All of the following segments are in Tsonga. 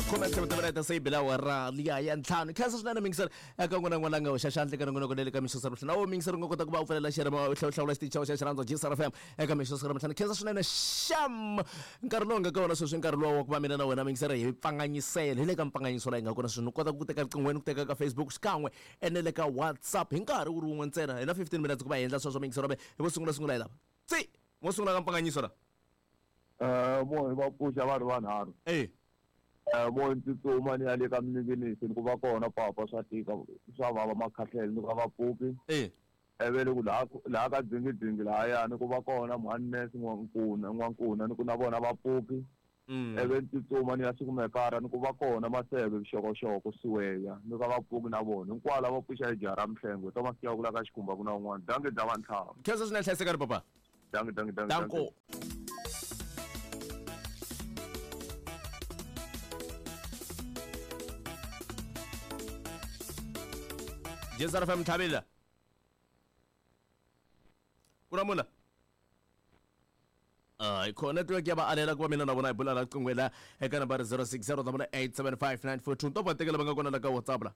Khume se yi bela awara liya ya ntlhanu. Khensa swinene mingiseri eka n'wana n'wana nga hoxa xandla eka nongonoko le ka mixo sa na wo mingiseri u nga kota ku va u pfulela xirhema u hlawula xitichi xa xirhandza GSR FM eka mixo sa ntlhanu. Khensa swinene xam nkarhi lowu nga ka wona sweswi nkarhi lowa wa ku va mina na wena mingiseri hi pfanganyisela hi le ka mpfanganyiso laha hi nga kona sweswi. U kota ku teka riqinghweni ku teka ka Facebook xikan'we ene le ka WhatsApp hi nkarhi wu ri wun'we ntsena. Hi na 15 minutes ku va hi endla sweswo mingiseri wa hi vo sungula sungula hi lava tsi mo sungula ka mpfanganyiso la. Vo va pfuxa va ri vanharhu. Vo ni tsutsuma ni ya le ka Mninginisi ni ku va kona papa swa tika swa vava makhahlele ni ku a va pfuki. Ivi ku laha laha ka dzingidzingi lahaya ni ku va kona mhani nurse N'wankuna N'wankuna ni ku na vona va pfuki. Ivi ni tsutsuma ni ya Sikumekara ni ku va kona Maseve Vuxokoxoko Siweya ni ku a va pfuki na vona. Hinkwavo lava pfuxa hi jaha ra Mhlengwe Thomas Chauke la ka Xikhumba ku na un'wana. Dankie bya vantlhanu. Khensa swinene hlayisekani papa. Dankie, dankie, dankie. Danko. GSR FM Tlhabela. Ku na mula. Hayi khona network ya va alela ku va mina na vona hi bula la riqingho la eka nambara 060 875 to va tekela va nga kona la ka WhatsApp la.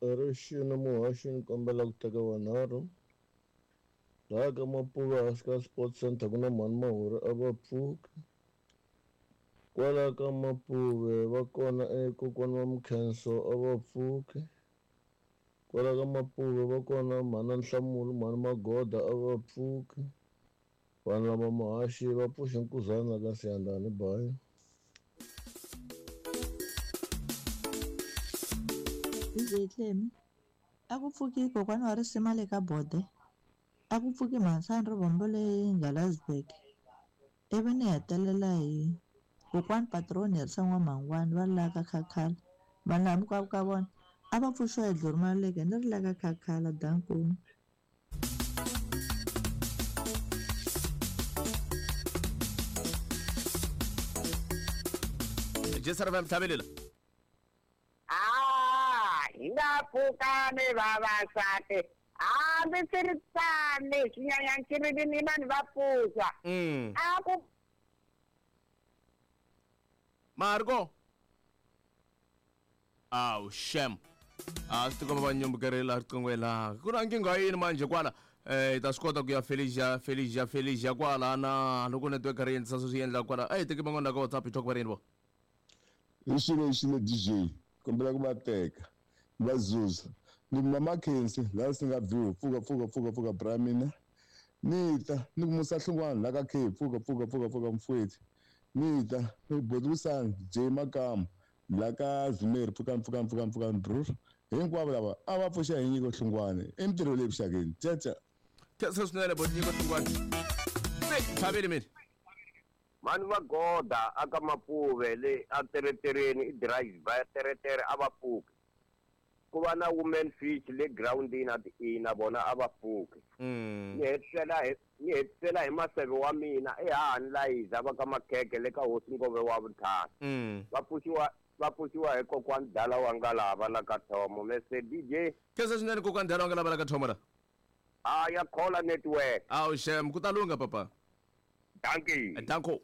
Rixini muhaxi ni kombela ku teka vanharhu. Laha ka Mapuva hansi ka Sports Center ku na mhani Mahuri a va pfuki. Kwala ka Mapuve va kona e kokwana wa Mkhenso a va pfuki. Kwala ka Mapuve va kona mhana Nhlamulo mhani Magoda a va pfuki. Vanhu lava muhaxi va pfuxe nkuzana ka Siyandhani bayi. DJ Clem, a ku pfuki kokwana wa risima le ka bode, a ku pfuki mhansani rivombo le Ngalasburg, ivi ni hetelela hi kokwani Patroni Herisa N'wamhangwani va la ka Khakhala. Vanhu lava hinkwavo ka vona a va pfuxiwa hi Dlori Maluleke ni ri la ka Khakhala danko. GSR FM Tlhabelela. Ah, hi nga pfukani vavasati hambi swi ri tani swinyanyankirili ni vanhu va pfuxa. A ku Marco. Aw shem. A swi tikomba va nyumbukerile riqingho laha. Ku na nkingha yini manje kwala? Hi ta swi kota ku ya Felicia Felicia Felicia kwala na loko network ri endlisa sweswi endla kwala. A hi teki van'wana la ka WhatsApp hi talk va ri yini vo. Hi xilo xilo DJ kombela ku va teka va zuza ni ku mama Khensi laha swi nga view pfuka pfuka pfuka pfuka bra mina ni ta ni ku musa hlungwana la ka K pfuka pfuka pfuka pfuka mfowethu ni ta ni ku botiwisani J Makamu la ka Zimeri pfuka pfuka pfuka pfuka bro hinkwavo lava a va pfuxa hi nyiko hlungwane i mintirho leyi vuxakeni caca. Khensa swinene boti nyiko hlungwane. Se tlhaveli mina. Mhani va goda aka Mapuve le a teretereni i driver ya teretere a va pfuki. Ku va na women fish le groundini a ti na vona a va pfuki. Ni hetisela hi ni hetisela hi maseve wa mina ehahani Layiza va ka Makhekhe le ka hosi Ngove wa vuntlhanu. Va pfuxiwa va pfuxiwa hi kokwani Dala wa Ngalava la ka Thomo. Mr DJ. Khensa swinene kokwani Dala wa Ngalava la ka Thomo la. A ya khola network. Awu shem ku ta lungha papa. Dankie. Danko.